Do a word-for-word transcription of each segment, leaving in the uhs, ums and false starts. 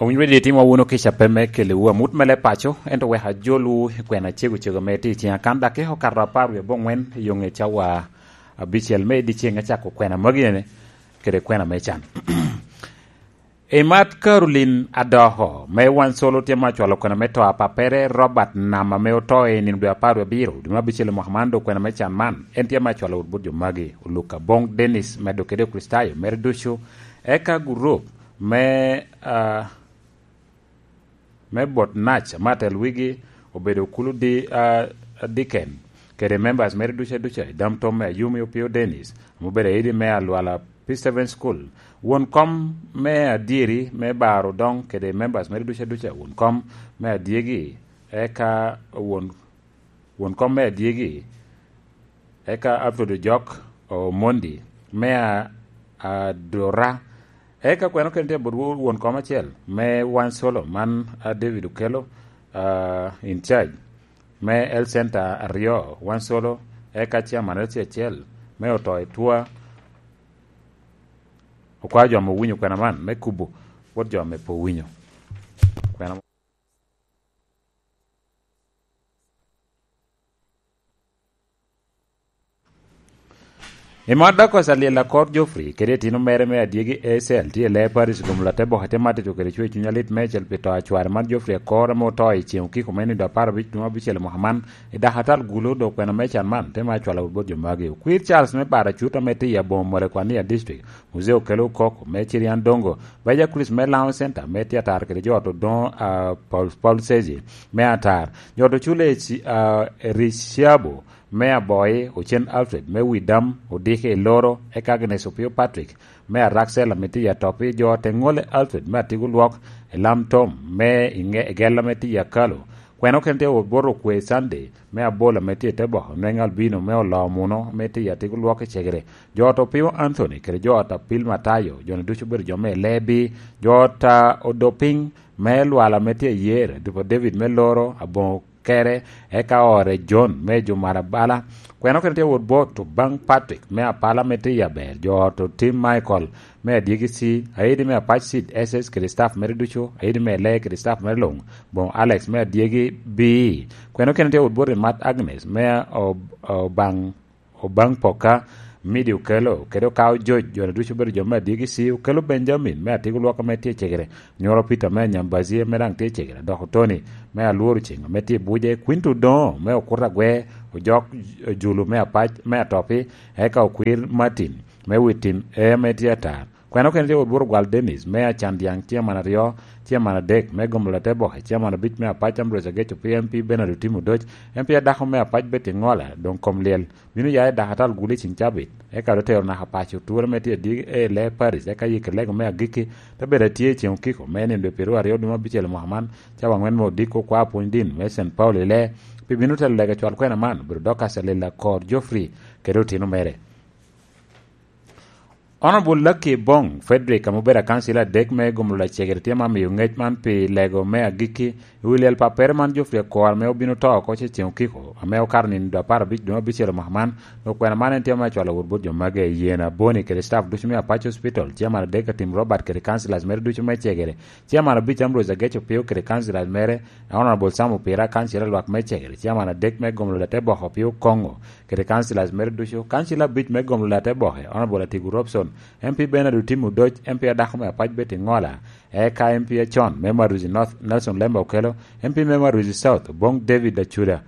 Owinyo Radio itimo wunu kica pe me kelewu amut me leb paco, ento wek ajolwu i kwena cego cego ame tye i ciŋa. Kan dakika okato apar wie abongwen i yo ŋe cawa abicel me dyeceŋ, acako kwena magi ene kede kwena me can. I mat Caroline Adoko, me Wansolo tye ma acwalo kwena me to a pappere Robert Nam ame oto i nino dwe apar wie abiro, dwe me abicel i mwaka man, dok kwena me can man, en tye ma acwalo wot bot jo magi, Oluka Bong Dennis, medo kede Okricitayo mere ducu, eka gurup me, ah, me bot nac, ma atel wigi obedo kulu di, ah, diken, kede members mere ducu aduca, i dam tom me Ayumi Opio Dennis, ame obedo aidi me Alwala P seven School, won kom me adyeri me Bar Odong, kede members mere ducu aduca, won kom me adyegi, eka won, won kom me adyegi, eka Alfred Ojok Omondi me a-, Adora, eka kweno kene tye bot won kom acel me Wansolo man, a, David Okello, a, in charge me Health Center aryo Wansolo, eka chairman L C acel me oto i Twa. Okwao jo ame owinyo kwena man me kubo bot jo ame pe owinyo kwena. I mat Dakos Alyel Akor Geoffrey kede itino mere me adyegi Esel tye i lee Paris gomolo ate boke te matito kede cwer cuny alit meicel pi to a cware man Geoffrey Akor ame oto i ceŋ okiko me nido apar abic dwe abicel i mwaka man i dakatal gulo dok kwena me can man te ma cwalo wot bot jo magi. Okwir Charles me Baracut ame tye i aboŋo Molekwania District, Muzee Okello Okoko me Cirian Dongo, Baja Chris me Laŋo Center me tye atar kede jo ot Odoŋo, a, Paul, Paul Sezi me atar, jo ot Ocule, a, Ericiabo me Aboi, Ocen Alfred me Widam, Odiki i Loro, eka Agnes Opio Patrick me Araksel ame tye i Atopi, jo ot Eŋole Alfred me Atigo Lwok, Elam Tom me Iŋe-, Egella ame tye i Akalo. Kwena okene tye wot bot Okwe Sunday me Abol ame tye i te boko, Nweŋ Albino me Oloo Muno ame tye i Atigo Lwok i Cegere. Jo ot Opio Anthony kede jo ot Apil Matayo, jo-ni ducu obedo jo me Lebi, jo ot a Odopiny me Lwala ame tye i Yer, Dupa David me Loro, aboŋo kere, eka ore John me Jumara Bala. Kwena okene tye wot bot Obaŋ Patrick me Apala ame tye i Aber, jo ot Otim Michael me Adyegi C, Aidi me Apac Sid S S kede staff mere ducu, Aidi me Lee kede staff mere luŋ, boŋo Alex me Adyegi B. Kwena okene tye wot bot Imat Agnes me O-, Obaŋ, Obaŋ Poka, Midi Okello, kede Okawo Joc, jo-ni ducu obedo jo me Adyegi C, Okello Benjamin me Atigo Lwok ame tye i Cegere, Nyoro Peter me Anyambazi ame daŋ tye i Cegere, dok Tony me Alworo Ceŋ ame tye i Buje, Quinto Odoŋo me Okuta Agwe, Ojok Julu me Apac me Atopi, eka Okwir Martin me Witim E ame tye atar. Kwena okene tye wot bot Ogwal Dennis me Acan Dyaŋ, chairman aryo, chairman adek me Gomolo Ate Boke, chairman abic me Apac Ambrose Ageco P M P, Bernard Otim Odoc M P adako me Apac Betty Ŋola, doŋ kom lyel bino ya i dakatal gulo i cin cabit, eka doŋ tero naka paco ture me tye adyegi e Lee Paris, eka yik lego me agikki te bedo atye i ceŋ okiko me nino dwe pyeraryo dwe me abicel i mwaka man, cawa aŋwen me odiko kwa pwony din me Saint Paul i Lee, pi bino telo lego cwal kwena man obedo Dorcas Alil Akor Geoffrey kede otino mere. Honorable Lucky Bong Frederick, ame obedo akancila adek me Gomolo Lacegere, tye ma miyo ngec man pi lego me agikki i wi lyel pappere man Geoffrey Akor, ame obino to oko ce ceŋ okiko, ame okato nino dwe apar abic dwe me abicel mwaka man. Dok kwena man en tye ma acwalo wot bot jo magi i Yena Boni kede staff ducu me Apac Hospital, chairman adek Atim Robert kede councillors mere ducu me Cegere, chairman abic Ambrose Ageco Pio kede councillors mere, Honorable Sam Opira, councillor lwak me Cegere, chairman adek me Gomolo Late Boko Pio Kongo, kede councillors mere ducu, councillor abic me Gomolo Late Boke, Honorable Atigu Robson, M P Bernard Otim Odoc, M P adako me Apac Betty Ŋola, eka M P acon me Maruzi North, Nelson Lemba Okello, M P me Maruzi South, Oboŋ David Acuda,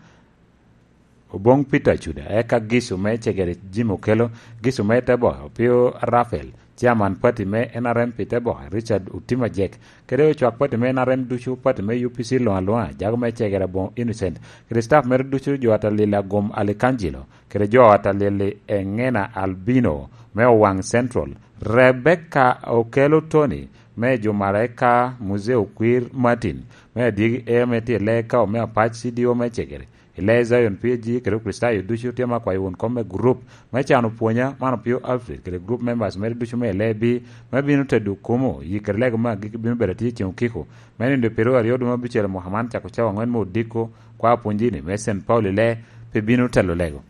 Oboŋ Peter Acuda, eka Gisu me Cegere Jim Okello, Gisu me Teboke Opio Raphael, chairman party me N R M pi Teboke Richard Otim Ajek, kede ocwak party me N R M ducu, party me U P C luŋ aluŋa, jago me Cegere Aboŋo Innocent, kede staff mere ducu, jo ata Lila Gum Alikangelo, kede jo ata Lili Eŋena Albino me Owaŋ Central, Rebecca Okello Tony me Jumara, eka Muzee Okwir Martin me Adyegi E me tye i Lee Kawo me Apac C D O me Cegere, i Lee Zion P A G kede Okricitayo ducu tye ma kwayo won kom me gurup me cano pwonya man Opio Alfred kede gurup members mere ducu me Lee B me bino tedo kumo, yikere lego me agikki bino bedo atye i ceŋ okiko me nino dwe pyeraryo dwe me abicel mwaka man cako cawa aŋwen me odiko, kwa pwonyi-ni me Saint Paul i Lee pe bino telo lego.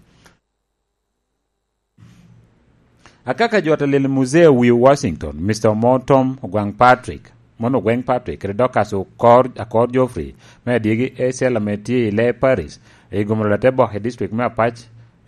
Akaka jo ata Lili Muzee Wiu Washington, Mister Omo Tom Ogwaŋ Patrick, Mon Ogweng Patrick kede Dorcas Okor, Akor Geoffrey me adyegi Ecel ame tye i Lee Parish, i gomoro Latebok i district me Apac,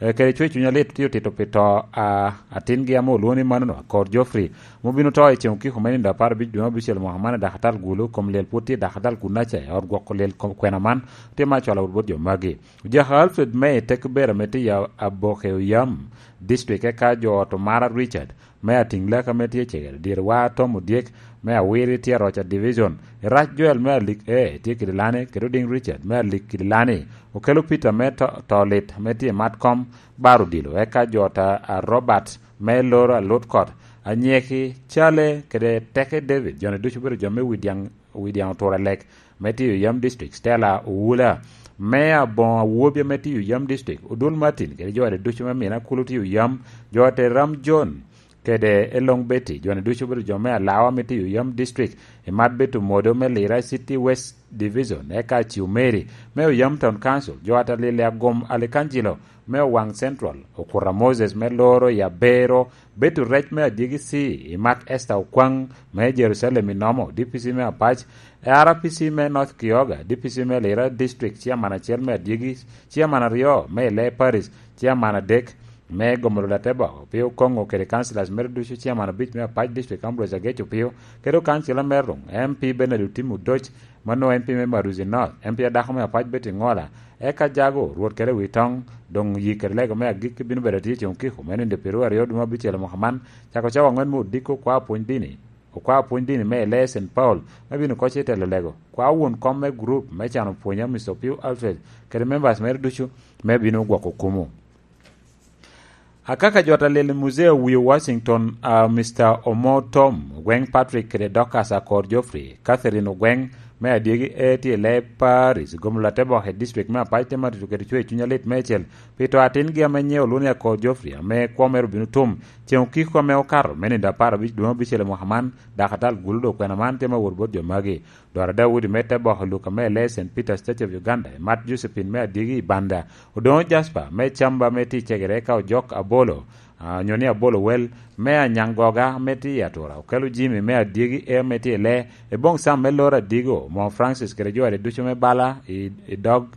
eh, kede cwer cuny alit tye otito pi to a atingi ame olwoŋo ni manono, Akor Geoffrey, ma obino to i ceŋ okiko me nino apar abic dwe me abicel mwaka man i Dakatal Gulu. Kom lyel pwod tye i Dakatal Gunaca i ot gwoko lyel kom kwena man, tye ma acwalo wot bot jo magi. Ojaka Alfred me i Tekbera me tye i Aboke Oyam, district, eka jo ot Omara Richard me Ating Laka me tye cegere, Dyerewa Tom Odyek me Awiri tye Aroca Division, Irac Joel me Alik E tye Kidilani, kede Oding Richard me Alik Kidilani, Okelo Peter me To-, Tolit me tye Matkom Bar Odilo, eka jo ta a Robert me Loro Alutkot, Anyeki Cale kede Teke David, joni ducu obedo jo me Widiaŋ, Widiaŋ Otura Lek me tye Oyam District, Stella Owula me Aboŋo Awobi ame tye Oyam District, Odul Martin kede jo ade ducu me Mina Kulu tye Oyam, jo ate Ram John kede Elong Betty, joni ducu obedo jo me Alawa me tye Oyam District, Imat Betty Omodo me Lira City West Division, eka Aciu Mary me Oyam Town Council, jo ate Lili Agom Alikanjilo me Owaŋ Central, Okura Moses me Loro i Abero, Betty Rec me Adyegi C, Imat Esther Okwaŋ me Jerusalem i Nomo, D P C me Apac, R P C me North Kioga, D P C me Lira District, Chairman acel me Adyegi, Chairman aryo me Ile Parish, Chairman adek me Gomolo Latebok Opio Koŋo kede councillors mere ducu, Chairman abic me Apac District Ambrose Agec Opio, kede councillor mere luŋ, M P Bernard Otim Odoc, mano M P me Maruzi North, M P adako me Apac Betty Ŋola, eka Jago Rwot kede Witoŋ, doŋ yi kede lego me agikki bino bedo atye i Ceŋ Okiko me nino pyeraryo dwe me abicel mwaka man, cako cawa aŋwen me odiko kwa pwony dini. Okwa pwony dini me Elee Saint Paul me bino koc i telo lego. Kwa won kom me gurup me cano pwony a Mister Opio Alfred kede members mere ducu me bino gwoko kumu. Akaka jot a lel i Muzee Owio Washington, a Mister Omo Tom, Ogweng Patrick kede Dorcas Akor Geoffrey, Catherine Ogweng me Adyegi A tye i Lee Parish, Gomolo Atebok i district me Apac te matito kede cwer cuny alit meicel, pi to atingi ame nyiŋe olwoŋo ni Akor Geoffrey, ame kwo mere obino tum Ceŋ Okiko ame okato, me nino apar abic dwe me abicel i mwaka man, Dakatal Gulu dok kwena man tye me wot bot jo magi. Dwara Daudi me te boko Luka me Lee Saint Peter State of Uganda, Imat Josephine me Adyegi i Banda, Odoŋo Jasper me Camba me tye i Cegere, eka Ojok Abolo, a, onyo ni Abolo Wel, me Anyaŋ Goga me tye i Atura, Okelo Jimmy me Adyegi A me tye i Lee, Eboŋ Sam me Loro Adigo, Omo Francis kede jo ade ducu me bala i, i dog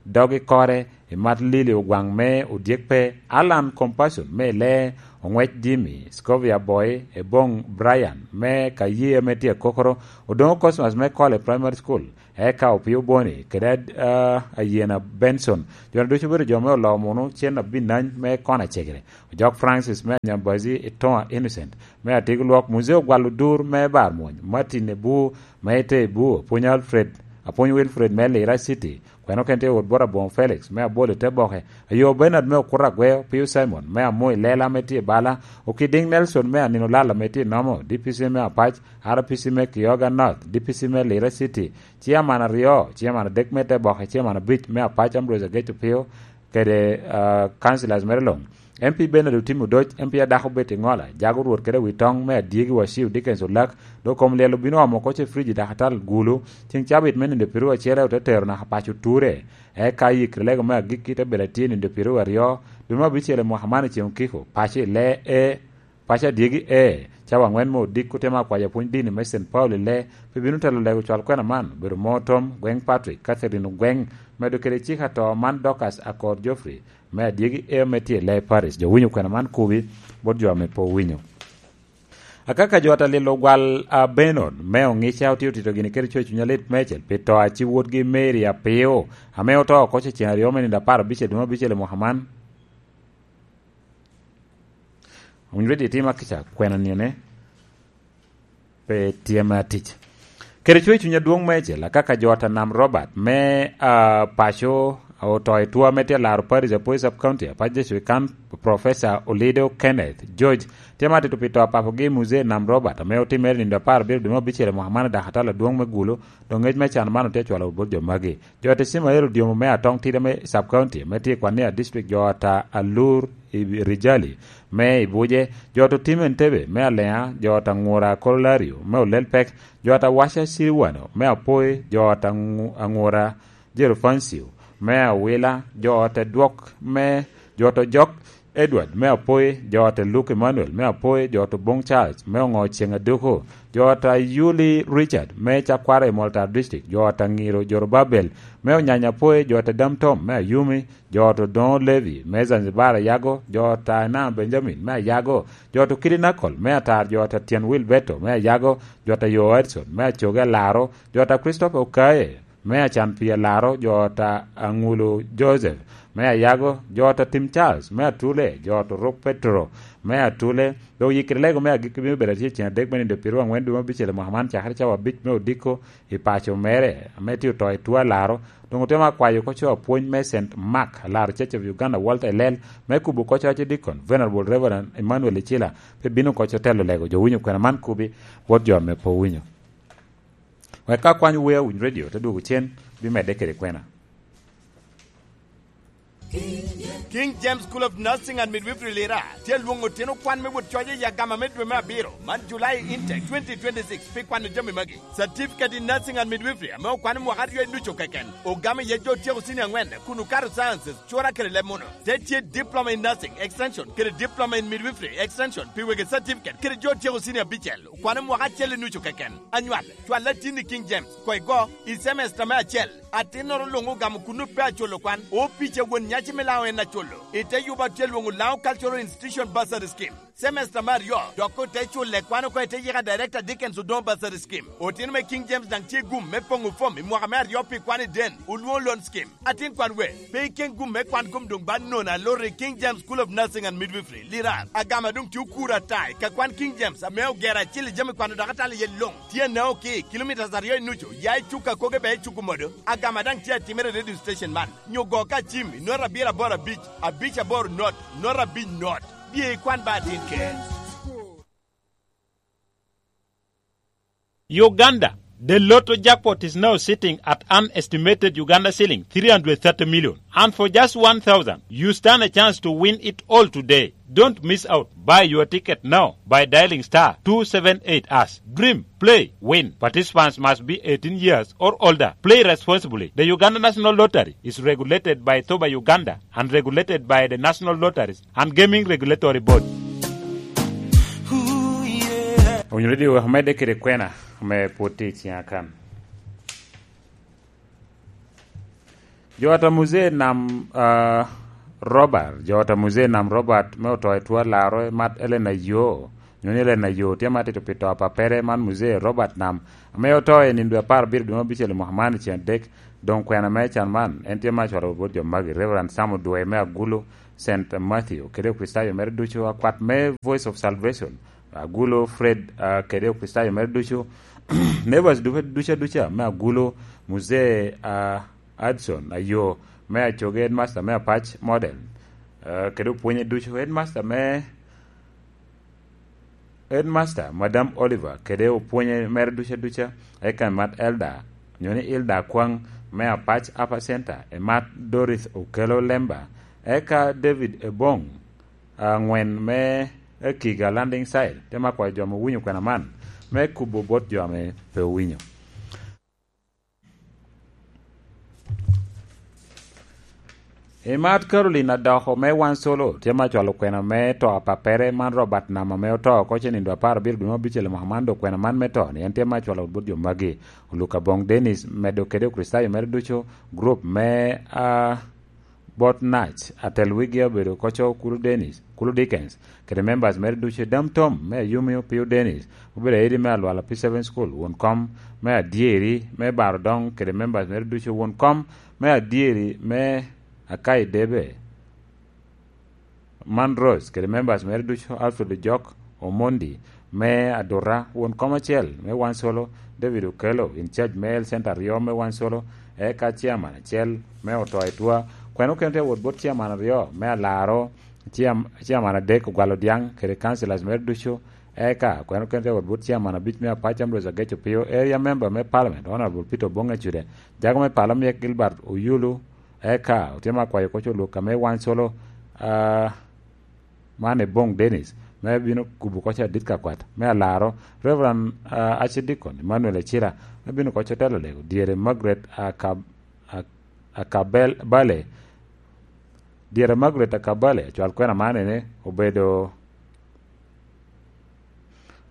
dog i kore, Imat Lili Ogwaŋ me Odyek Pe, Alan Compassion me Lee, Oŋwec Jimmy, Scovia Boy, Eboŋ Brian me Kaye ame tye Akokoro, Odoŋo Cosmas me Kole Primary School, eka Opio Boni, kede, ah, Ayena Benson. Jo-nu ducu obedo jo me Oloo Munu, Cen Abinany me Kona Cegere, Ojok Francis me Anyambazi, Itoŋa Innocent me Atiko Lwok, Muzee Ogwalo Dur me Bar Mwony, Martin Ebu me Ite Ebu, Apwony Alfred, Apwony Wilfred me Lira City, Kwene oken tye wot bot Aboŋo Felix me Abolo i te boke, ayo Bernard me Okuto Agweo, Pius Simon me Amo i Lela ame tye i Bala, Okidiŋ Nelson me Anino Lal ame tye i Nomo, D P C me Apac, R P C me Kioga North, D P C me Lira City, Chairman aryo, Chairman adek me te boke, Chairman abic me Apac Ambrose Ageco Pio, kede, ah, councillors mere luŋ. M P Bernard Otim Odoc, M P adako Betty Ŋola, Jago Rwot kede Witoŋ me Adyegi Waciu Dickens Olak, dok kom lyel obino omo oko ce frij i Dakatal Gulu, ceŋ cabit me nino pyeraryo acel ote tero naka paco Ture. Eka i kede lego me agikki te bedo atye nino pyeraryo aryo, dwe me abicel i mwaka man i Ceŋ Okiko, paco i Lee E, paco Adyegi E, cawa aŋwen me odiko te ma kwayo apwony dini me Saint Paul i Lee, pe bino telo lego cwal kwena man, obedo Mo Tom, Gweng Patrick, Catherine Ogweng, medo kede cik ato man Dorcas Akor Geoffrey, me Adyegi E me tye i Lee Parish. Jo winyo kwena man kubi bot jo ame pe owinyo. Akaka jo ata lilo gwal a Benon me Oŋica otye otito gini kede coc cuny alit meicel pi to a ci wotgi Mary Apio, ame oto oko ce ceŋ aryo me nino apar abic i dwe me abicel i mwaka man. Owinyo redi itima kica kwena nine. Pe tye me atic. Kede cwer cuny adwoŋ meicel, akaka jo ata Nam Robert me, ah, paco oto i two ame tye laro Parish Apoy Sub County, Apac District kan Professor Olido Kenneth George, tye ma atito pi to a papogi Muzee Nam Robert, ame otimere nindo apar abiro dwe me abicel i mwaka man i Dakatal adwoŋ me Gulu, dok ngec me can man otye acwalo bot jo magi. Jo ata Ismael Odyomo me Atong Tida me Sub County, me tye i Kwania District, jo ata Alur i Rijali me Ibuje, jo ata Otim Entebe me Aleŋa, jo ata Ŋura Kololario me Olelpek, jo ata Waca Siriwano me Apoi, jo ata Ŋu-, Aŋura Jerofancio me Awila, jo ata Dwok me, jo ata Ojok Edward me Apoi, jo ata Luke Emmanuel me Apoi, jo ata Oboŋ Charles me Oŋo Ceŋ Aduku, jo ata Yuli Richard me Cakwara i Moltar District, jo ata Ŋiro Jorobabel me Onyanya Apoi, jo ata Dam Tom me Ayumi, jo ata Odoŋo Levi me Zanzibar Ayago, jo ata Enam Benjamin me Ayago, jo ata Okidi Nakol me Atar, jo ata Tyen Wil Beto me Ayago, jo ata Yo Edson me Acoge Alaro, jo ata Christopher Okaye me Acan Pii Alaro, jo ata Aŋulu Joseph me Ayago, jo ata Tim Charles me Atule, jo ata Oruk Petero me Atule. Dok yikiri lego me agikki bino bedo atye i ceng adek me nindo piru aŋwen dwe me abicel i mwaka man, cakere cawa abic me odiko i paco mere, ame tye oto i tuo alaro. Doŋ otemo akwayo oko co apwony me Saint Mark, alaro Church of Uganda, Walter Elel, me kubo oko co Archdeacon, Venerable Reverend Emmanuel Icila, pe bino oko co telo lego jo winyo kwena man kubi bot jo ame pe owinyo. Wek ka kwany wer Winy Radio te dwogo cen, bimedde kede kwena. King James School of Nursing and Midwifery Lira tye alwoŋo otino kwan me wot coc i agama me dwe me abiro man July Intake twenty twenty-six pi kwano jami magi. Certificate in Nursing and Midwifery ame okwano mwaka aryo i nucu keken, ogamo iye jo otyeko senior angwen kun okato sciences, cura kede leb muno. Te tye Diploma in Nursing Extension kede Diploma in Midwifery Extension pi wegi certificate kede jo otyeko senior abicel, okwano mwaka acel i nucu keken. Anywal, cwal atin i King James, koigo, i semester me acel. Atinnoro luŋ ogamo kun ope aculo kwan, opica won nyaci me Laŋo en aculo. I te yuba tye lwoŋo Laŋo Cultural Institution Bursary Scheme. Semester me aryo, dok ote culle kwan oko i te yika Director Dickens Odoŋo Bursary Scheme. Otino me King James daŋ tye gum me poŋo fom i mwaka me aryo pi kwan i den, olwoŋo Loan Scheme. Atin kwan we, pe iken gum me kwan kom doŋ ba nono aloro i King James School of Nursing and Midwifery, Lirar. Agama doŋ tye okuro ata i ka kwan King James ame ogero acil i jami kwano dok atalo iye luŋ. Tye anaŋo ki kilomitas aryo i nucu ya i cuk akoge bea i cuk omodo. Agama daŋ tye atimere i radio station man. Nyo go ka cim i nota abiro aboro abic, abic aboro not, nota abic not. Bye ikwan ba atin ker. Uganda, the lotto jackpot is now sitting at an estimated Uganda shilling three hundred thirty million. And for just one thousand, you stand a chance to win it all today. Don't miss out. Buy your ticket now by dialing star two seven eight hash. Dream, play, win. Participants must be eighteen years or older. Play responsibly. The Uganda National Lottery is regulated by Thoba Uganda and regulated by the National Lotteries and Gaming Regulatory Board. Owinyo redio wek omedde kede kwena me pwod tye i ciŋa kan. Jo ata Muzee Nam uh, Robert, jo ata Muzee Nam Robert me oto i two alaro mat Elena Yo, nyo ni Elena Yo tye matito pi to apapere man Muzee Robert Nam ame oto i nindo apar abiro dwe me abicel i mwaka man i ceng adek. Doŋ kwena me can man en tye ma acwalo bot jo magi: Reverend Sam Odwe me Agulu, Saint Matthew kede Okricitayo mere ducu, akwat me Voice of Salvation Agulu, Fred uh, kede Okricitayo mere ducu, neighbors ducu ducu aduca me Agulu, Muzee uh, Adson Ayo me Acoge, headmaster me Apac Model uh, kede opwonye ducu, headmaster me Headmaster, Madam Oliver kede opwonye mere duca duca, eka emat Elda nyo ni Ilda Akwaŋ me Apac Upper Center, emat Dorith Okelo Lemba, eka David Ebong aŋwen me Ekiga Landing Site. Te ma kwayo jo ame owinyo kwena man me kubo bot jo ame pe owinyo. Imat Caroline Adoko me Wan Solo tye ma cwalo kwena me to a pappere man Robert Nam ame oto oko ce nindo apar abiro dwe me abicel i mwaka man, dok kwena man me to ni en tye ma cwalo bot jo magi: Oluka Bong Dennis, medo kede Okricitayo mere ducu, gurup me a bot Nac, atel wigi obedo koco Kulu Dennis, Kulu Dickens, kede members mere ducu, Dam Tom me Ayumi, Opio Dennis, obedo aidi me Alwala P seven School, won kom me Adyeri me Baro Doŋ, kede members mere ducu, won kom me Adyeri me Akai Debe, man Rose, kede members mere ducu, Alfred Ojok, Omondi me Aduta, won kom acel me Wan Solo, David Okello, in charge me Health Center aryo me Wan Solo, eka chairman acel me Oto Etwa. Kwena okene tye awot bot chairman aryo me Alaro, chairman adek Ogwal Odiaŋ kede councillors mere ducu, eka kwena okene tye awot bot chairman abic me Apac Ambrose Ageco Pio, area member me parliament Honourable Peter Obong Ecude, jago me pala Miek Gilbert Oyulu, eka otye ma akwayo koc oluk ame Wan Solo, ah, man Ebong Dennis, me bino kubo koc adit ka kwat me Alaro, Reverend, ah, Archdeacon Emmanuel Ecira, me bino koc otelo lego dyere Margaret Akab-, Ak-, Akabel-, Bale, Dyere Margaret Akabale, cwal kwena man ene, obedo,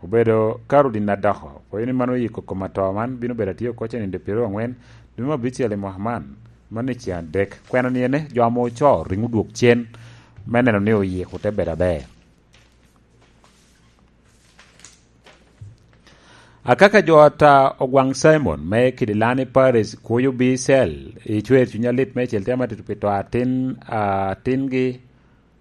obedo Caroline Adoko. Pwoyo ni man oyiko kom atoo man bino bedo atye oko cen i dye pyeraryo angwen, dwe me abicel i mwaka man, man i ceng adek. Kwena ni ene, jo ame ocoo ringo dwok cen me neno ni oyiko te bedo aber. Akaka jo ata Ogwaŋ Simon me Kidilani Paris kuyo bi cel i cwer cuny alit me cel tye amatito pi to atin, atingi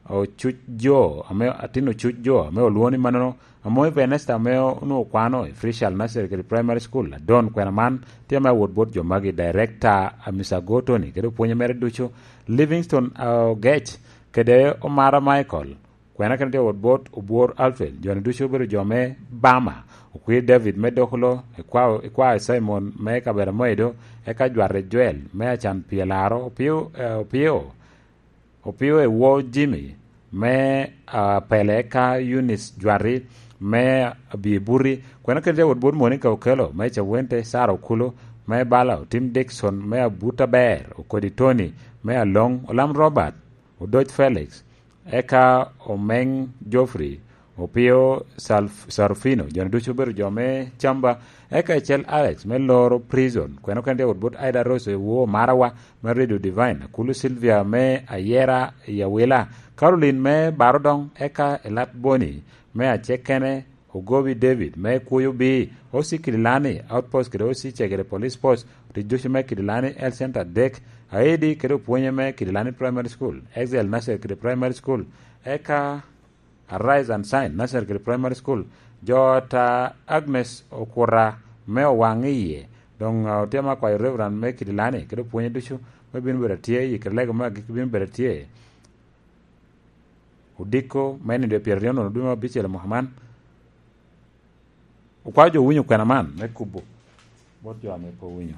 ocuc jo, ame, atin ocuc jo, ame olwoŋo ni manono, Amoy Venesta ame onwoŋo kwano i Frishal Nursery kede Primary School, Adon kwena man tye ame awot bot jo magi, Director Amisago Tony kede opwonye mere ducu, Livingstone Ogec kede Omara Michael, kwena kene tye awot bot Obwor Alfred, jo-ni ducu obedo jo me Bama, Okwir David me Dokolo, Ikwa-, Ikwa Simon me Kabedo Moido, eka Jwate Joel me Acan Pyelaro, Opio, eh, Opio, Opio Ewo Jimmy me, ah, Pele, eka Eunice Jwati me Abibuti, kwena kene tye awot bot Monica Okello me Cawente, Sara Okulu me Bala, Otim Dickson me Abuta Ber, Okodi Tony me Aloŋ, Olam Robert, Odoc Felix, eka Omeŋ Geoffrey, Opio Salf-, Sarufino, jo-ni ducu obedo jo me Camba, eka Ecel Alex me Loro Prison, kwena kene tye awot bot Aida Rose Ewo Marawa me Radio Divine, Akulu Sylvia me Ayera i Awila, Caroline me Barodoŋ, eka Elat Boni me Acekene, Ogobi David me Kuyo B, O C Kidilani Outpost kede O C Cegere Police Post, otic ducu me Kidilani Health Center adek, Aidi kede opwonye me Kidilani Primary School, Excel Nursery kede Primary School, eka Arise and Shine Nursery kede Primary School, jo ata Agnes Okuta me Owaŋ iye, doŋ, ah, otye ame akwayo Reverend me Kidilani kede opwonye ducu me bino bedo atye i kede lego me agikki bino bedo atye. Odiko me nino dwe pyeraryo nono dwe me abicel i mwaka man. Okwao jo winyo kwena man me kubo bot jo ame pe owinyo.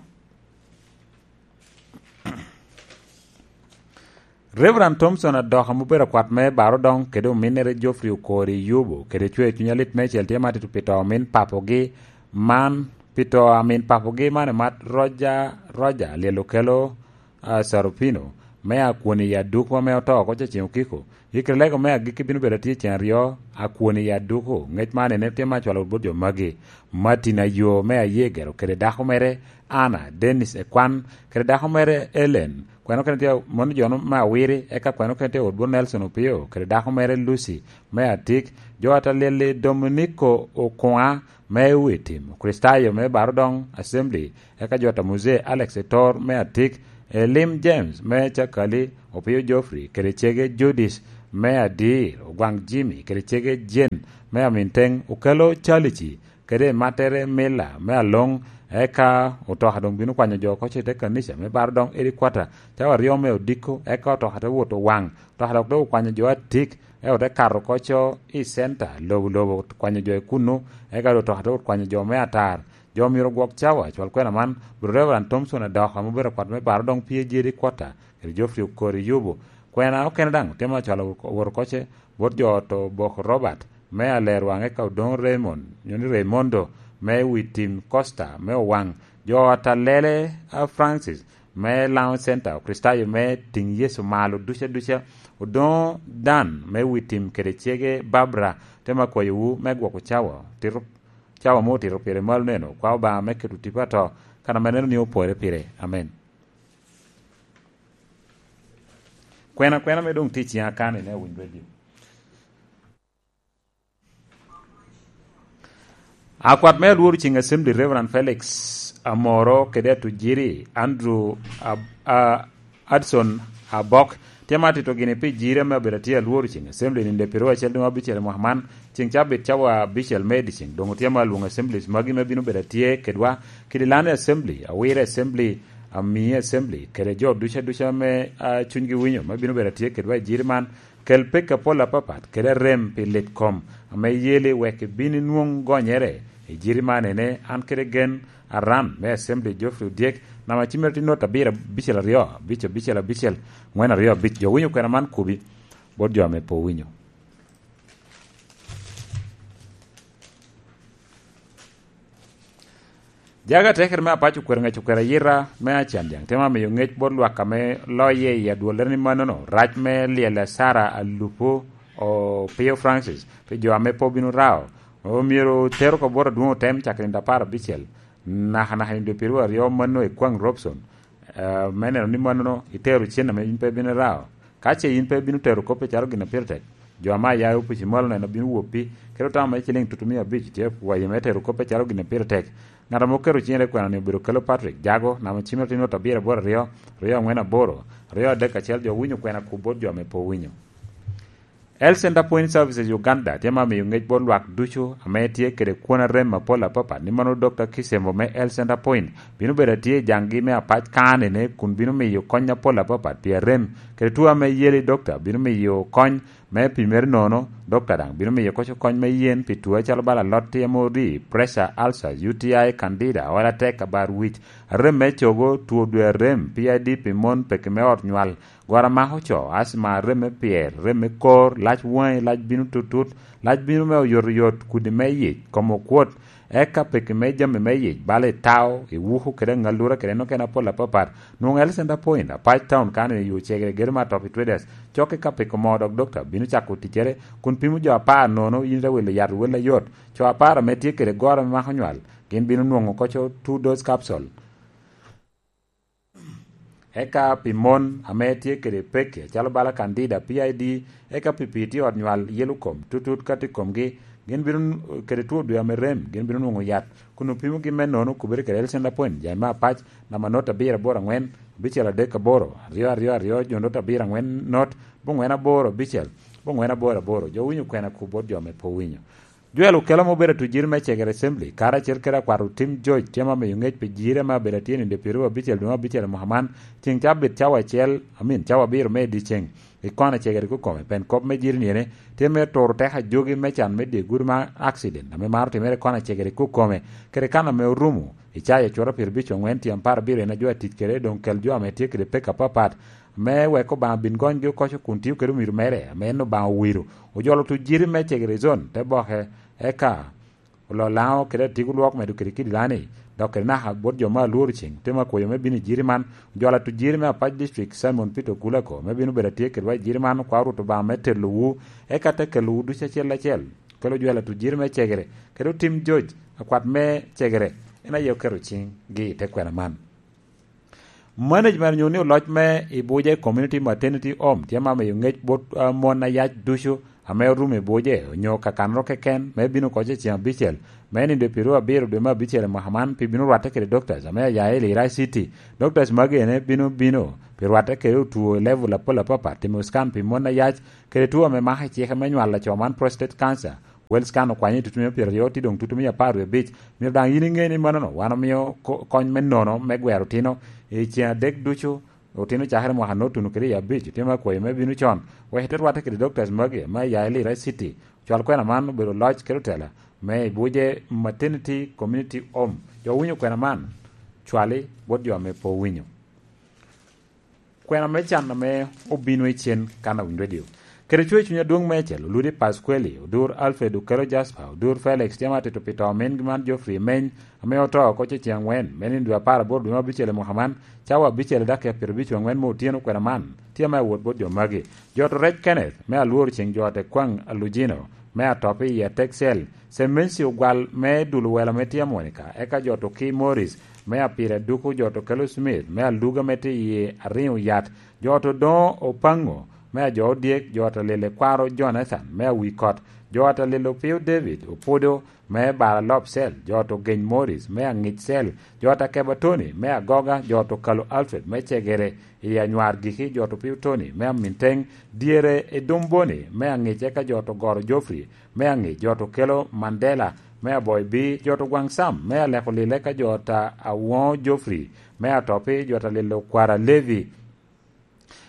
Reverend Thompson Adok ame obedo akwat me Barodoŋ kede ominnere Geoffrey Okori Yubo kede cwer cuny alit meicel tye matito pi to omin papogi man, pi to amin papogi man emat Roger, Roger Alyel Okello, ah, Sarupino, me Akwoni i Aduku ame oto oko Cacing Okiko. Yikere lego me agikki bino bedo atye cen aryo, Akwoni i Aduku. Ŋec man ene tye me acwalo bot jo magi: Martin Ayo me Ayegero kede dako mere Anna, Dennis Ekwan kede dako mere Ellen. Kweno kene tye mono jo me Awiri, eka kweno kene tye wot bot Nelson Opio kede dako mere Lucy me Atik. Jo Atalyel-li Dominico Okuŋa me Witim, Kricitayo me Barodoŋ Assembly, eka jo ata Muzee Alex Etor me Atik, Elim James me Cakali, Opio Geoffrey kede cege Judith me Adir, Ogwaŋ Jimmy kede cege Jane me Aminteŋ, Okelo Calici kede mattere Mila me Aloŋ, eka otoka doŋ bino kwanyo jo oko ce te kanica me Barodoŋ Edi Kwata, cawa aryo me odiko, eka otoka te wot Owaŋ, otoka dok te okwanyo jo Atik, eka ote kato oko co i centa, lobo lobo, kwanyo jo i kunnu, eka doŋ otoka te wot kwanyo jo me Atar. Jo myero ogwok cawa, cwal kwena man, bot Reverend Thompson Adok, ame obedo akwat me Barodoŋ P A G Edi Kwata, kede Geoffrey Okori Yubo. Kwena okene daŋ tye me acwalo wot oko ce bot jo ot Obok Robert me Alerwaŋ, eka Odoŋo Raymond, nyo ni Raymondo, me Witim Costa me Owaŋ, jo ot Alele, a, Francis me Laŋo Center, Okricitayo me Tiŋ Yecu Malo duca duca, Odoŋo Dan me Witim kede cege Barbara, tye me akwayowu me gwoko cawa, tito, cawa ame otito pire malo neno, kwa Obaŋa me keto tipo ato, kan ame neno ni opore pire. Amen. Kwena kwena me doŋ tye i ciŋa kan ine Winy Radio. Akwat me Alworo Ceng Assembly, Reverend Felix Amoro, kede Atujiri Andrew Ab-, a-, Adson Abok, tye ma atito gini pi jiri ame abedo atye Alworo Ceng Assembly ninde piro acel dum abicel i mwaka man, ceng cabit cawa abicel me diceng. Doŋ otye ma alwoŋo assemblies magi me bino bedo atye kedwa, Kidilani Assembly, Awire Assembly, Amii Assembly, kede jo duca duca me, a, cunygi winyo me bino bedo atye kedwa i jiri man. Kel pekki apol apapat kede arem pi lit kom ame iyeli wek ibin inwoŋ gonyere i jiri man ene, an kede gen Aran me Assembly Geoffrey Odyek, namba cim mere tye not abiro abicel aryo, abic abicel abicel, ŋwen aryo abic. Jo winyo kwena man kubi bot jo ame pe owinyo. Jaga atekere me apac okwero ngec okwero ayita me acan jaŋ, temo miyo ngec bot lwak ame loye i adwollere ni mannono, rac me lyel Sara Alupo o Pio Francis pi jo ame pe obino rao. Omyero tero ka bot adwoŋ otem cakere nino apar abicel, naka naka nino pyeraryo aryo manno i kwaŋ Robson, eh, me neno ni mannono itero cen ame in pe ibino rao. Ka ce in pe ibino tero kop acalo gin a pire tek, jo ame aya i opici malo neno bino woppi, kede otamo me ciliŋ tutumia abic tye akwayi me tero kop acalo gin a pire tek. Ngat ame oketo ciŋe te kwena-ni obedo Kelo Patrick Jago, namba cimere tye nwoto abiro aboro aryo, aryo angwen aboro, aryo adek acel. Jo winyo kwena kup bot jo ame pe owinyo. Health Center Point Services Uganda tye ma miyo ngec bot lwak ducu ame tye kede kwon arem apol apapat, ni mano Dokta Kisembo me Health Center Point bino bedo atye i jaŋgi me apac kanene kun bino miyo kony apol apapat pi arem kede tuo ame yeli. Dokta bino miyo kony me pimere nono. Dokta daŋ bino miyo koco kony me yen pi tuo acalo bala alot, T M O D, pressure, ulcers, U T I, candida, ola tek, abar wic, arem me cogo, tuo dwe arem, P I D pi mon, peki me ot nywal, gora mako co, asma, rem me pyer, rem me kor, lac waŋi, lac bino tutut, lac bino me oyotoyot, kudi me yic, kom okwot, eka peki me jami me yic, bala itao, iwuku kede aŋalura kede en okene apol apapat. Nwoŋo Health Center Point, Apac Town, kano i yo cegere gedo me Atop i Traders, cokke ka peko moo dok dokta bino cako ticcere, kun pimo jo apar nono, in ite wilo yat wel ayot. Co apar ame tye kede goro ame mako nywal, gin bino nwoŋo koco two dose capsule. Eka pi mon ame tye kede pekki acalo bala candida, P I D, eka pi pii tye ot nywal, yelo kom, tutut ka tye i komgi, gin bino n-, kede two dwe ame rem, gin bino nwoŋo yat, kun opimogi me nono okubere kede Health Center Point, Jaime Apac, namba not abiro aboro angwen, abicel adek aboro, aryo aryo aryo, jo not abiro angwen not, bongwen aboro abicel, bongwen aboro aboro. Jo winyo kwena kup bot jo ame pe owinyo. Joel Okello ma obedo atujiri me Cegere Assembly, karacel kede akwat Otim George, tye ma miyo ngec pi jiri ame abedo atye nino pyeraryo abicel dwe me abicel i mwaka man, ceŋ cabit cawa acel, amin, cawa abiro me dyeceŋ, i kona cegere kukome, pien kop me jiri ni ene, tye me turo teko ajogi me can me dye gudo ma accident, ame maro timere i kona cegere kukome, kede kan ame orumo, i caa acura pyerabicel angwen, tyem apar abiro en ajo atic kede, doŋ kel jo ame tye kede pek apapat, me wek Obaŋa bin gonygi okoco kun tio kede omiro mere, ame en Obaŋa owiro. Ojolo tujiri me Cegere Zone, te boke, eka olo Laŋo kede Atigo Lwok medo kede kidi Lani, dok kede naka bot jo me alworo ceŋ, te ma kwoyo me bino i jiri man. Ojolo atujiri me Apac District, Simon Peter Okulako, me bino bedo atye kedwa i jiri man, kwa Rwot Obaŋa me telowu, eka te kelowu ducu acel acel. Kelo Ojwel atujiri me Cegere, kede Otim George, akwat me Cegere, en aye oketo ciŋgi i te kwena man. Management onyo ni oloc me Ibuje Community Maternity Home tye ma miyo ngec bot, ah, mon ayac ducu ame orumo Ibuje onyo kakanoro keken me bino koc i ceŋ abicel me nindo pyeraryo abiro dwe me abicel i mwaka man, pi bino rwatte kede doctors ame aya i Lira City. Doctors magi ene bino bino pi rwatte kede otwo i level apol apapat, timo scan pi mon ayac kede two ame mako i cike me nywal laco man, prostate cancer. Wellscan okwanyo i tutumia pyeraryo, tye doŋ tutumia apar wie abic. Myero daŋ yin iŋe ni mannono, wan omio ko-, kony me nono me gwero otino i ceŋ adek ducu, otino cakere mwaka notuno kede i abic, otino akwayo me bino con, wek ite rwatte kede doctors magi me aya i Lira City. Cwal kwena man obedo loc kede otela me Ibuje Maternity Community Home. Jo winyo kwena man, cwali bot jo ame pe owinyo. Kwena me can ame obino i cen kan a Wind Radio. Kede cwer cuny adwoŋ meicel, Oludi Pasqueli, Odur Alfred Okelo Jasper, Odur Felix, tye ma tito pi to mingi man Geoffrey Emeny, ame oto oko ce ceŋ angwen, me nino dwe apar aboro dwe me abicel i mwaka man, cawa abicel i dakika pyerabic angwen me otyeno. Kwena man tye ame awot bot jo magi. Jot Orec Kenneth, me alworo ceŋ jot Ekwaŋ Alujino, me atop i Atek Cell, Semensi Ogwal me Dul Welo me tye Monica, eka jot Oki Morris, me Apira Duku, jot Okelo Smith, me Aluga me tye i Ariŋo Yat, jot Odoŋo Opaŋo, me Ajo Odyek, jot Alele Kwaro Jonathan, me Awikot, jot Alele Opio David, Opudo, me Bara Lop Cell, jot Ogeny Morris, me Aŋic Cell, jot Akeba Tony, me Agoga, jot Okalo Alfred, me Cegere, i Anywar Giki, jot Opio Tony, me Aminteŋ, dyere i Dumboni, me Aŋic, eka jot Ogoro Geoffrey, me Aŋic, jot Okelo Mandela, me Aboy Bi, jot Ogwaŋ Sam, me Aleko Lile, eka jot a-, Awoŋo Geoffrey, me Atopi, jot Alelo Kwara Levi,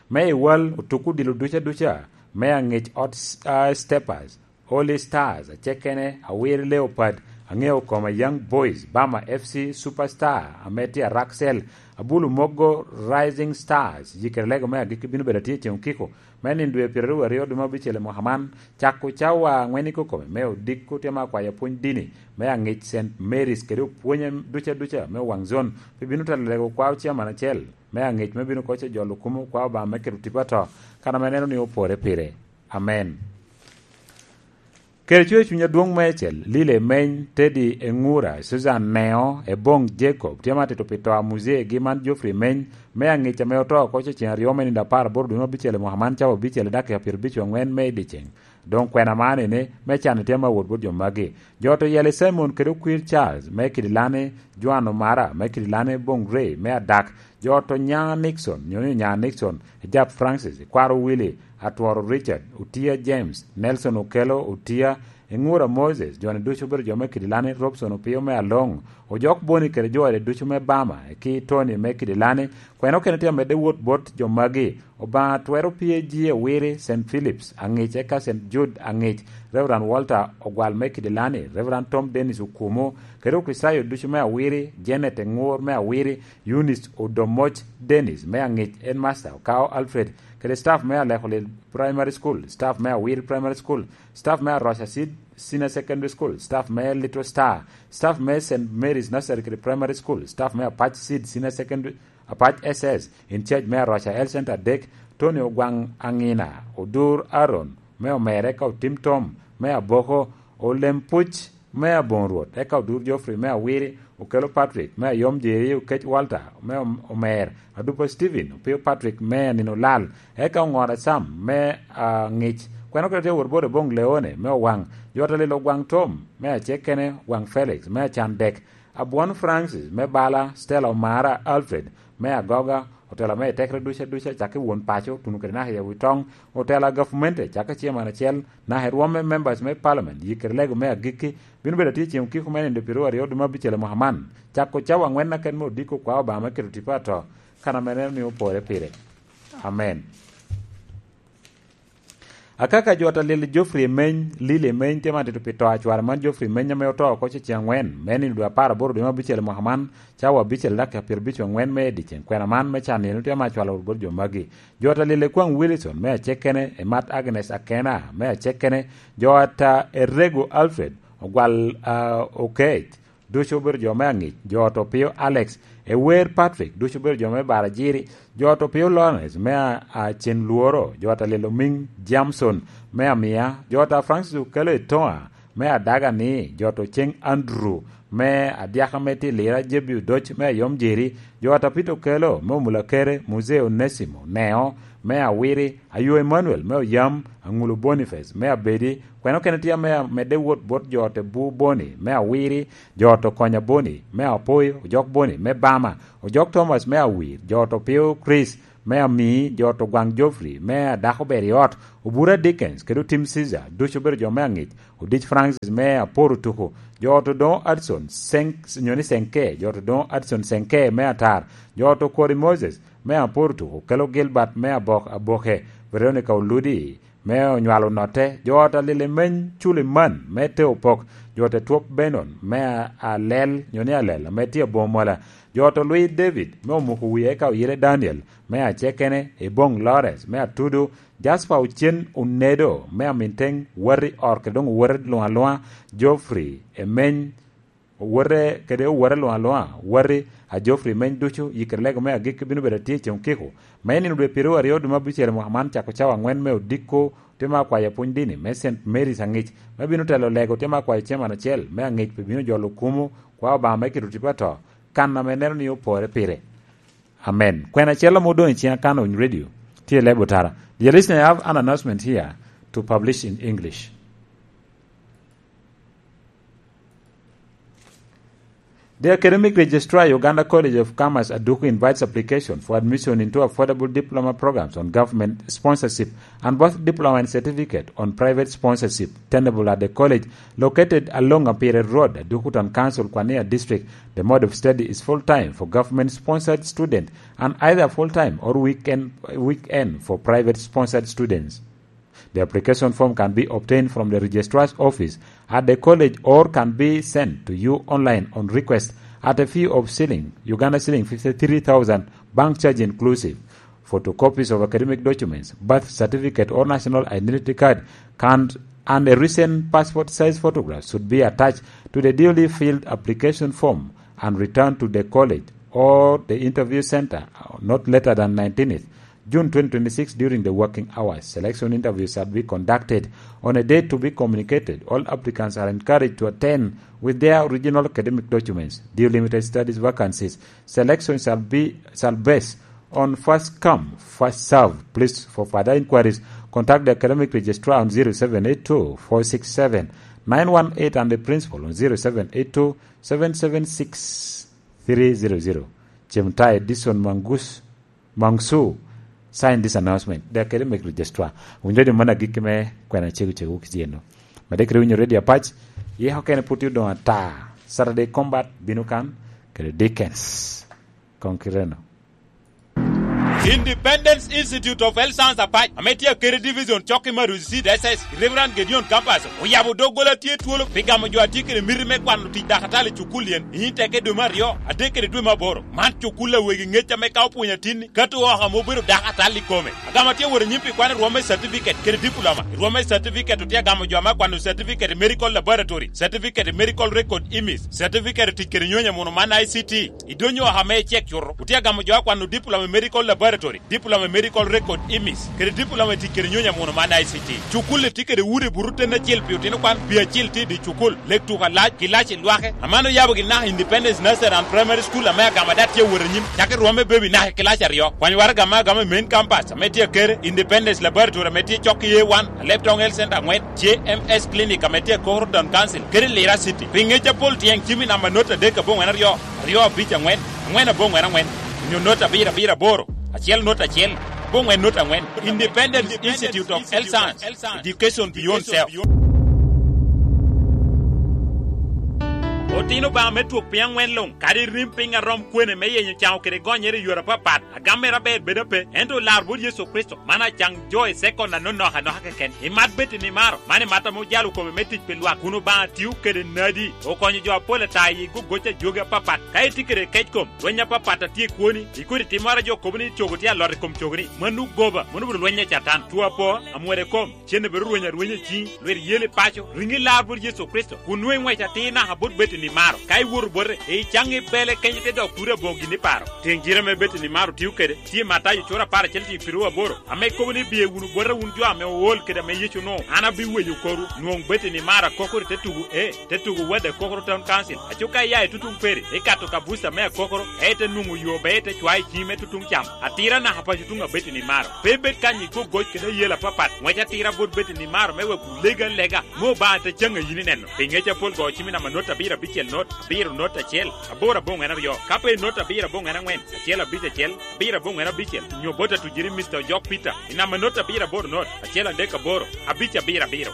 me Iwal, Otuku Dilo duca duca, me Aŋic Ot S-, a, Steppers, Holy Stars, Acekene, Awir Leopard, Aŋeo koma Young Boys, Bama F C Superstar, ame tye a Raksel, Abulu Mogo Rising Stars, yikere lego me agikki bino bedo atye i ceŋ okiko me nino dwe pyeraryo aryo dwe me abicel i mwaka man, cako cawa aŋwen i kokome me odiko tye me akwayo pwony dini me aŋic Saint Mary's kede opwonye duca duca me waŋ zon, pe bino telo lego kwao ciaman acel me aŋic me bino koc ojolo kumo kwao Obaŋa me keto tipo ato, kan ame neno ni opore pire. Amen. Kede cwer cuny adwoŋ meicel, Lile Meny, Teddy Eŋura, Susan Neo, Eboŋ Jacob, tye ma tito pi to a muzee-gi man Geoffrey Meny, me aŋic ame oto oko ceŋ aryo me nino apar aboro dwe me abicel i mwaka man cawa abicel i dakika pyerabicel aŋwen me i dyeceŋ. Doŋ kwena man ene, me can tye ma wot bot jo magi. Jo to yeli Simon kede okwir Charles, me Kidilani, Joan Omara, me Kidilani, Boŋ Ray, me adak. Jo to nya Nixon, nyo ni onya Nixon, Ejap Francis, Kwaro Willy, Atworo Richard, Otia James, Nelson Okello, Otia, Eŋura Moses, jo-ni ducu obedo jo me Kidilani, Robson Opio me Aloŋ, Ojok Boni kede jo ode ducu me Bama, ki Tony me Kidilani, kwena okene tye amedde wot bot jo magi, Obaŋa twero P A G Awiri, Saint Philip's Aŋic, eka Saint Jude Aŋic, Reverend Walter Ogwal me Kidilani, Reverend Tom Dennis Okumu, kede Okricitayo ducu me Awiri, Janet Eŋur me Awiri, Eunice Odomoc Dennis me Aŋic, Headmaster Okao Alfred, kede staff me Alekolil Primary School, staff me Awiri Primary School, staff me Aroca Seed Senior Secondary School, staff me Little Star, staff me Saint Mary's Nursery kede Primary School, staff me Apac Seed Senior Secondary, Apac S S, in charge me Aroca Health Center adek, Tony Ogwaŋ Aŋina, Odur Aaron me Omere ka Otim Tom me Aboko, Olem Puc me Aboŋo Rwot, eka Odur Geoffrey me Awiri, Okello Patrick me Ayom Jeri, Okec Walter me Om-, Omer, Adupa Stephen, Opio Patrick me Anino Lal, eka Oŋora Sam me Aŋic, kwena okene tye wot bot Eboŋ Leone me Owaŋ, jo ata lilo Ogwaŋ Tom me Acekene, Ogwaŋ Felix me Acandek, Abwon Francis me Bala, Stella Omara Alfred me Agoga, otela me etekere duca duca, cakki won paco, tuno kede naka i Awitoŋ, otela gavumenti, cakki chairman acel, naka i rwom me members me parliament, yikere lego me agikki, bino bedo atye i ceŋ okiko me nino pyeraryo aryo dwe me abicel i mwaka man, cako cawa aŋwen aken me odiko kwao Obaŋa me keto tipo ato, kan ame neno ni opore pire. Amen. Akaka jo ata lil Geoffrey Emeny, Lili Emeny, tye ma tito pi to a cware man Geoffrey Emeny ame oto oko ceŋ aŋwen, me nino dwe apar aboro dwe me abicel i mwaka man, cawa abicel dakika pyerabicel aŋwen me i dyeceŋ. Kwena man me can eno tye ma acwalo wot bot jo magi. Jo ata lil Ekwaŋ Wilson me Acekene, Emat Agnes Akena me Acekene, jo ata Erego Alfred, Ogwal, ah, Okec, ducu obedo jo me aŋic, jo ot Opio Alex, Ewer Patrick, ducu obedo jo me Barajiri, jo ot Opio Lawrence me a, a Cen Lworo, jo ot Alil Omiŋ Jamson me Amia, jo ot a Francis Okello Etoŋa me Adaga ni, jo ot Oceng Andrew me Adyaka me tye Lira, Jebi Odoc me Ayom Jeri, jo ot a Peter Okello me Omulakere, Muzee Onesimo Neo me Awiri, Ayo Emmanuel me Oyam, Aŋulo Boniface me Abedi, kwena okene tye ame amedde wot bot jo ot Ebu Boni me Awiri, jo ot Okonya Boni me Apoyo, Ojok Boni me Bama, Ojok Thomas me Awir, jo ot Opio Chris me Amii, jo ot Ogwaŋ Geoffrey me Adako Ber i Ot, Obura Dickens kede Otim Caesar, ducu obedo jo me aŋic, Odic Francis me Aporo Tuku, jo ot Odoŋo Adson Senk-, nyo ni Senke, jo ot Odoŋo Adson Senke me Atar, jo ot Okori Moses me Aporo Tuku, Okello Gilbert me Abok Aboke, Veronica Oludi, me onywalo Notte, jo ot Alil Emeny Culiman me Teopok, jo ot Etwop Benon me A-, Alel, nyo ni Alel, ame tye Abomola, jo ot Olwi David me Omuko Wie eka Oyele Daniel me Acekene, Eboŋ Lawrence me Atudu, Jasper Ocen Onedo me Aminteŋ, Wati Ot kede doŋ Owete luŋ aluŋa, Geoffrey Emeny, Owote kede owote luŋ aluŋa, wati a Geoffrey Meny ducu, yikere lego me agikki bino bedo atye i ceŋ okiko. Me nino dwe pyeraryo aryo dwe me abicel i mwaka man, cako cawa aŋwen me odiko, tye me akwayo pwony dini me Saint Mary's aŋic, me bino telo lego tye me akwayo chairman acel me aŋic pe bino jolo kumo kwa Obaŋa me kito tipo ato, kan ame neno ni opore pire. Amen. Kwena acel ame odoŋ i ciŋa kan ony radio, tye i lebo tara. Dear listener, I have an announcement here to publish in English. The Academic Registrar, Uganda College of Commerce, Aduku, invites application for admission into affordable diploma programs on government sponsorship, and both diploma and certificate on private sponsorship, tenable at the college located along Apire Road, Aduku Town Council, Kwania District. The mode of study is full-time for government-sponsored student and either full-time or weekend, weekend for private-sponsored students. The application form can be obtained from the registrar's office at the college or can be sent to you online on request at a fee of shilling, Uganda shilling fifty-three thousand, bank charge inclusive. Photocopies of academic documents, birth certificate or national identity card, can, and a recent passport size photograph should be attached to the duly filled application form and returned to the college or the interview center not later than nineteenth June twenty twenty-six during the working hours. Selection interviews shall be conducted on a date to be communicated. All applicants are encouraged to attend with their original academic documents. Due limited studies vacancies. Selection shall be, shall base on first come, first serve. Please, for further inquiries, contact the academic registrar on zero seven eight two four six seven nine one eight and the principal on zero seven eight two seven seven six three zero zero. Cem tayo Edison Mangus, Mangsu, sign this announcement. The academic registrar. Winyo di mana gik me kwena cegu cegu kiceno. Made kiri winyo radio apac, ye okene puti odong ata. Saturday Combat bino kan, kede Dickens. Kong kireno. Independence Institute of Health Science Apac, ame tye Akere Division, cok i Maruzi Seed S S, Reverend Gedeon Campus, oyabo doggola tye twolo pi gamo jo a tye kede miti me kwano tic dakatali i cukul yen, i nyim teke dwe me aryo, adek kede dwe me aboro. Man cukul a wegi ŋec ame ka opwonyo atinni, kato oko ame obedo dakatali i kome. Agamo tye wot anyim pi kwano rwom me certificate kede diploma. I rwom me certificate otye agamo jo ame akwano certificate i medical laboratory, certificate i medical record imis, certificate i tic kede nyonyo muno man I C T. I dwonyo oko ame icek cuto, otye agamo jo akwano diploma i medical laboratory, diploma i medical record imis, kede diploma i tic kede nyonyo amuno man I C T. Cukul-li tye kede udi buto ten acel pi otino kwan, pi acil tye i dye cukul, lek tuko alac, kilaci lwake. Aman oyabo gin naka Independence Nursery and Primary School ame agamo ada tye awot anyim, cako i rwom me bebi naka i kilaci aryo. Kwany waraga ame agamo i main campus ame tye Akere, Independence Laboratory ame tye cok i A one, Alebtong Health Center angwen, J M S Clinic ame tye i Kokoro Town Council, kede Lira City. Pi ŋec apol tyeng cim i namba not adek aboŋwen aryo, aryo abic aŋwen, aŋwen aboŋwen aŋwen, onyo not abiro abiro aboro, acel not acel, aboŋwen not aŋwen. Independence Institute of Health Science, Education Beyond Self. Otino Obaŋa me twok piny aŋwen luŋ, kadi rim piny arom kwene me yenyo caŋo kede gonyere i yore apapat, agam mere aber bedo ape, ento lar bot Yecu Kricito, man acaŋ jo i sekon anonok anoka keken. Imat bed i nimaro, man imat ame ojalo kome me tic pi lwak, kun Obaŋa tio kede nadi, okonyo jo apol ata i gogoc ajogi apapat. Ka itye kede kec kom, lweny apapat a tye i kwoni, i kodi timmoro a jo kobo ni cogo tye alot i kom cogoni, mano goba, mano obedo lweny a Catan. Two apo, amwode kom, cen bedo rweny arwenya i ciŋi, lwet yel i paco, riŋi lar bot Yecu Kricito, kun nwoŋo iŋwec atir naka bot bed i nimaro. Ka iwoto bote, icaŋ i bele kenyo te dok turi aboŋo gin i paro. Teŋ jire ame bed i nimaro tio kede, tye Matayo cura apar acel tiŋ piru aboro, ame kobo ni, "Biye wunu bota wun jo ame ool kede ame Yecu onwoŋo, an abiweyo korwu." Nwoŋ bed i nimaro akokoro i te tugo, e, te tugo Wade Akokoro Town Council. Aco ka iya i tutuŋ peri, ikato ka buca me Akokoro, e, te nwoŋo yo be ite cwayo i ciŋi me tutuŋ cam. Atira naka paco tuŋ abed i nimaro. Pe ibed kany i gogoc kede ayel apapat. Ŋwec atira bot bed i nimaro me wek wulegi alega, me Obaŋa te caŋ a yin ineno. Pi ŋec apol go cim i namba not abiro abicel not, abiro not acel, aboro aboŋwen aryo. Ka pe not abiro aboŋwen aŋwen, acel abic acel, abiro aboŋwen abicel, nyo bot atujiri Mister Ojok Peter, i namba not abiro aboro not, acel adek aboro, abic abiro abiro.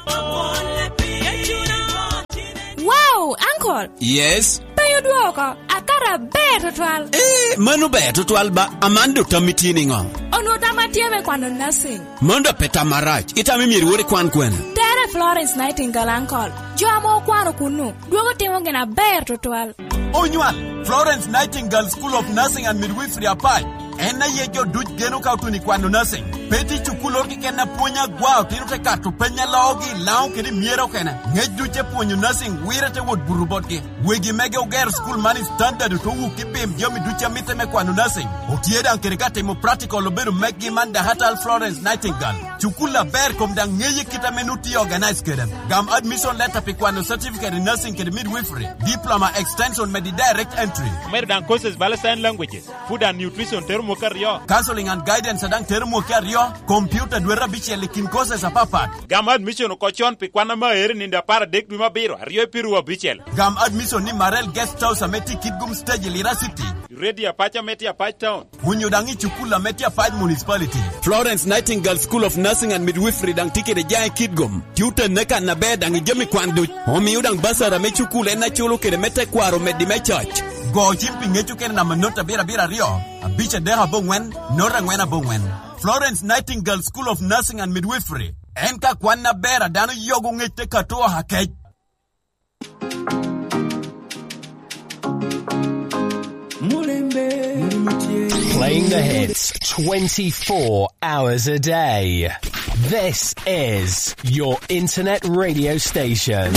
Wow, uncle! Yes? Penyo dwoko, akato aber tutwal. Eh, mano ber tutwal ba, Amando tammi tye niŋo? Onwoŋo tam atye me kwano nursing. Mano dok pe tam marac, itamo myero iwot ikwan kwene? Tere Florence Nightingale, uncle. Jo ame okwano kunnu, dwogo timo gin aber tutwal. Onywal, Florence Nightingale School of Nursing and Midwifery Apac. En aye jo duc geno ka otuno i kwano nursing. Pe tye cukulloro keken a pwonyo agwa, otino te kato peny a loogi i Laŋo kede i Myero okene. Ŋec duc te pwonyo nursing wire te wot buto botgi. Wegi mege ogero cukul man i standard, ote wuki bim jami duc a mitte me kwano nursing. Otye daŋ kede ka timo practical obedo meggi man Dakatal Florence Nightingale. Cukul aber kom daŋ ŋeye kit ame nut tye organize kede. Gam admission letter pi kwano certificate in nursing kede midwifery, diploma extension medi direct entry. Omedo daŋ courses bala sign languages, food and nutrition tero mwaka aryo. Counseling and guidance daŋ tero mwaka aryo, computer dwete abicel i kin courses apapat. Gam admission oko con pi kwan ame aero i nino apar adek dwe me abiro, aryo i piru abicel. Gam admission ni Marel Guest House ame tye i Kitgum Stage i Lira City. Radio Apac ame tye Apac Town. Onyo daŋ i cukul ame tye Apac Municipality. Florence Nightingale School of Nursing and Midwifery daŋ tye kede jaŋ i Kitgum. Tye otenne kan aber daŋ i jami kwan duc. Omio daŋ basara me cukul en aculo kede me tekwaro meddi me coc. Go cim pi ŋec okene namba not abiro abiro aryo, abic adek aboŋwen, not angwen aboŋwen. Florence Nightingale School of Nursing and Midwifery. En ka kwan aber a dano yogo ŋec te kato oha kec. Playing the hits twenty-four hours a day. This is your internet radio station.